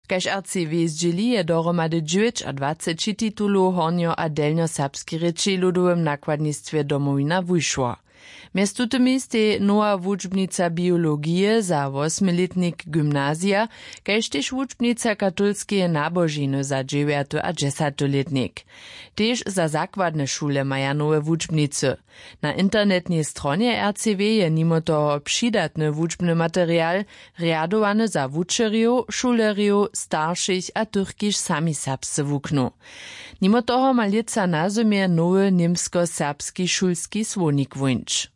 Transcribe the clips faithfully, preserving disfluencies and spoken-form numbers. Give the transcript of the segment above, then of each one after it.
Kaž rcw zdźěli, je dohromady dźewjećadwaceći titulow w hornjo- a delnjoserbskej rěči w ludowym nakładnistwje Domowina wušło. Mjez tutymi stej nowa wučbnica biologije za wosmilětnik gymnazija, kaž tež wučbnica katolskeje nabožiny za dźewjaty a dźesaty lětnik, tež za zakładne šule maja nowe wučbnicy. Na internetnej stronje rcw je nimo toho přidatny wučbny material, rjadowany za wučerjow, šulerjow, staršich a tych, kiž sami serbsce wuknu. Nimo toho ma lětsa na zymje nowy němskoserbski šulski słownik wóńć.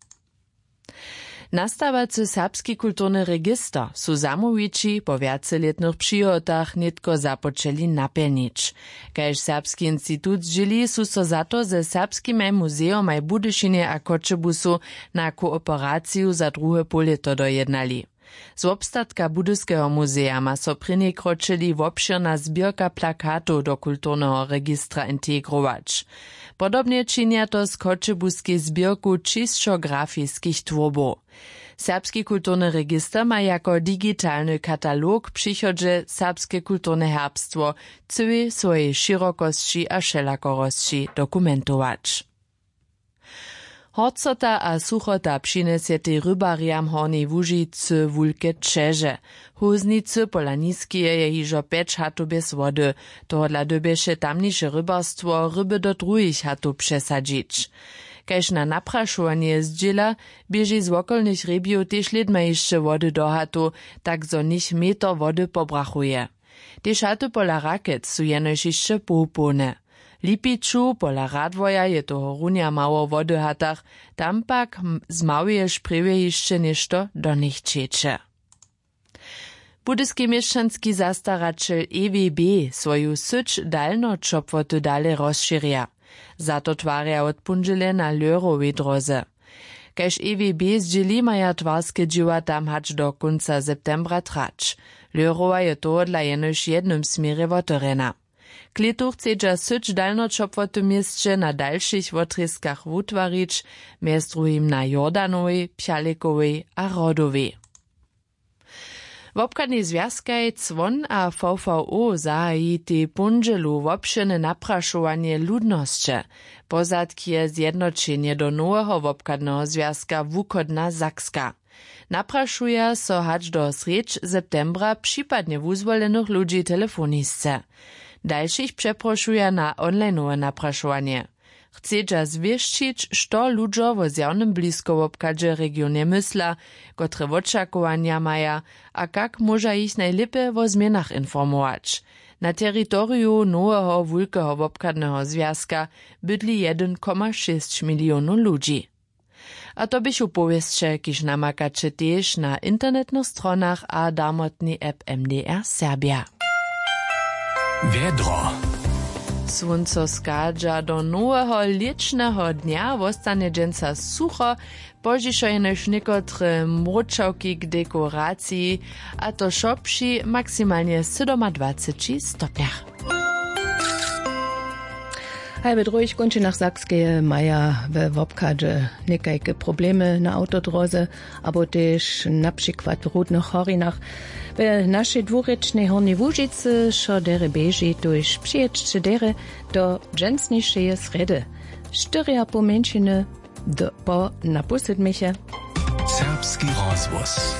Nastawacy serbski kulturny register su zamołwići po wjacelětnych přihotach nětko započeli napjelnić. Kaž serbski institut zdźěli, su so za to ze serbskimaj muzejomaj w Budyšinje a Choćebuzu na kooperaciju za druhe połlěto dojednali. Z wobstatka Budyskeho muzeja ma so prěni kročili wobšěrna zběrka plakatow do kulturneho registra integrować. Podobnje činja to z choćebuskej zběrku čisćografiskich twórbow. Serbski kulturny register ma jako digitalny katalog w přichodźe serbske kulturne herbstwo w cyłej swojej šěrokosći a wšelakorosći dokumentować. Horcota a suchota přinjesjetej rybarjam w Hornjej Łužicy wulke ćeže. W hóznicy pola Niskeje je hižo pjeć hatow bjez wody. Tohodla dyrbješe tamniše rybarstwo ryby do druhich hatow přesadźić. Kaž na naprašowanje zdźěla, běži z wokolnych hrjebjow tež lědma hišće wody do hatow, tak zo něch meter wody pobrachuje. Tež haty pola Rakec su jenož hišće połpołne. W Lipiću pola Radworja je tohorunja mało wody w hatach, tam pak m- z małeje šprjewje hišće něšto do nich ćeče. Budyski měšćanski zastaraćel E W B swoju syć dalnoćopłoty dale rozšěrja. Za to twarja wot póndźele na Lehrowej dróze. Kaž E W B zdźěli, maja twarske dźěła tam hač do kónca septembra trać. Lehrowa je tohodla jenož w jednym směrje wotewrjena. K lětu chcedźa syć dalnoćopłoty w měsće na dalšich wotrězkach wutwarić, mjez druhim na Jordanowej, Pjalikowej a Hrodowej. Wobchadnej zwjazkaj Cwon a V V O zahajitej póndźelu wobšěrne naprašowanje ludnosće. Pozadk je zjednoćenje do noweho wobchadneho zwjazka Wuchodna Sakska. Naprašuja so hač do srjedź septembra připadnje wuzwolenych ludźi telefonisce. Dalšich přeprošuja na onlineowe naprašowanje. Chcedźa zwěsćić, što ludźo wo zjawnym bliskowobchadźe w regionje mysla, kotre wočakowanja maja a kak móža jich najlěpje wo změnach informować. Na teritoriju noweho wulkeho wobchadneho zwjazka bydli jedyn koma šěsć milionow ludźi. A to běchu powěsće, kiž namakaće tež na internetnych stronach a darmotnej app M D R Serbja. Wjedro. Słónco schadźa do noweho lěćneho dnja, wostanje dźensa sucho, pozdźišo jenož někotre mróčawki k dekoraciji, a to wšo při maksimalnje sydomadwaceći stopnjach. Haj, w druhich kónčinach Sakskeje maja we wobchadźe někajke problemy na awtodróze abo tež na přikład w rudnych horinach. We našej dwurěčnej Hornjej Łužicy wšo derje běži, tuž přijědźće derje do dźensnišeje srjedy. Štyrjapoł mjeńšiny do, po na pół sydmjeje. Serbski rozhłos.